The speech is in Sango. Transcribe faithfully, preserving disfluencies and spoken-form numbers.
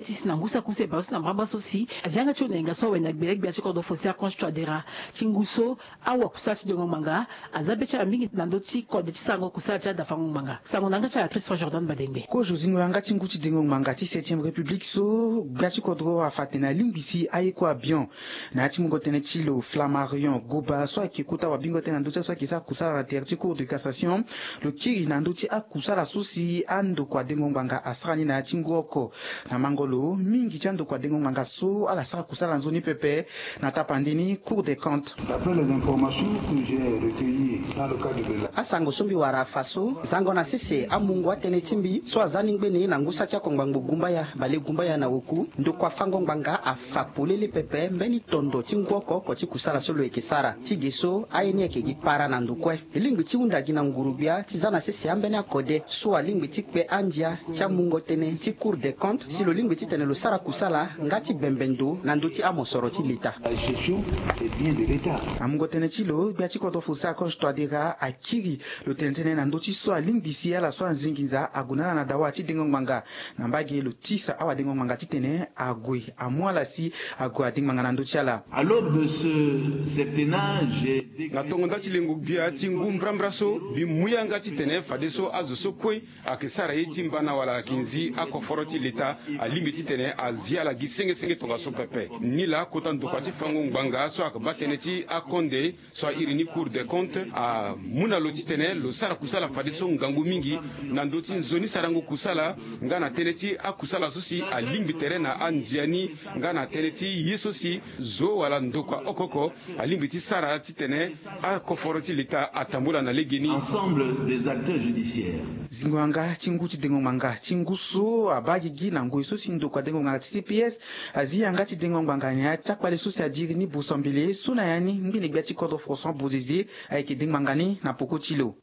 Ti si na ngu so akuse bale so na mbrambra so si azi yanga ti onenga so awe na gbele gbia ti kodro fo si akonstituadera ti ngu so awa kusala ti dengo ngbanga aza be ti ala mingi na ndö ti kode ti sarango kusala ti adafango ngbanga. Sango na yanga ti ala Christian Jordan Badengbe. Kozo zingo yanga ti ngu ti dengo ngbanga ti septième république so gbia ti kodro afa tene alingbi si aye kue abion na ya ti mungo tënë ti lo Flammarion Goba so ayeke kota wabingo tënë na ndö ti aye so ayeke sara kusala na tere ti cour de cassation. Lo kiri na ndö ti akusala so si andokua dengo ngbanga asara ni na ya ti ngu oko. Na mango lo mingi ti andokua dengo ngbanga so ala sara kusala na nzoni pepe na tapande ni cour des comptes. D'après les informations que j'ai recueillies dans le cadre de la asango so mbi wara afa so zango na sese amungo atënë ti mbi so aza ni ngbene na ngu saki oko ngbangbo gumbaya bale gumbaya na oku ndokua fango ngbanga afa polele pepe mbeni tondo ti ngu oko oko ti kusala so lo yeke sara ti ge so aye ni ayeke gi para na ndo kue. E lingbi ti hunda gi na nguru-gbia ti za na sese ambeni akode so alingbi ti kpe andia ti amungo tënë ti cour des comptes si lo lingbi titene lo sara kusala nga ti bembe ndo na ndö ti amosoro ti leta. La gestion des biens de l'État. Amungo tënë ti lo gbia ti kodro fo si akonstituadera akiri lo tene tënë na ndö ti so alingbi si ala so anzingi nza ague na ala na dawa ti dengo ngbanga. Na mbage lo tisa awadengo ngbanga titene ague amu ala si ague adengo ngbanga na ndö ti ala. À l'aube de ce septennat, j'ai décrété. Na tongo nda ti lengo gbia ti ngu mbrambra so mbi mu yanga titene fadeso azo so kue ayeke sara ye ti mbana wala ayeke nzi akoforo ti leta alingbi titene azi ala gi senge senge tongaso pepe. Nilaa kota ndokua ti fango ngbanga so ayeke baa tënë ti akonde so airi ni cour des comptes amu na lo titene lo sara kusala fadeso ngangu mingi na ndö ti nzoni sarango kusala nga na tënë ti akusala so si alingbi tere na andia ni nga na tënë ti ye so si zo wala ndokua oko oko alingbi ti sara titene akoforo ti leta atambula na legeni. Ensemble des acteurs judiciaires. Zingo yanga ti ngu ti dengo ngbanga ti ngu so abaa gigi na ngoi so si ndokua dengo ngbanga ti T P S azi yanga ti dengo ngbanga na ya ti akpale so si adiri ni Boso Mbele so na ya ni ngbene gbia ti kodro François Bozizé ayeke dengo ngbanga ni na poko ti lo.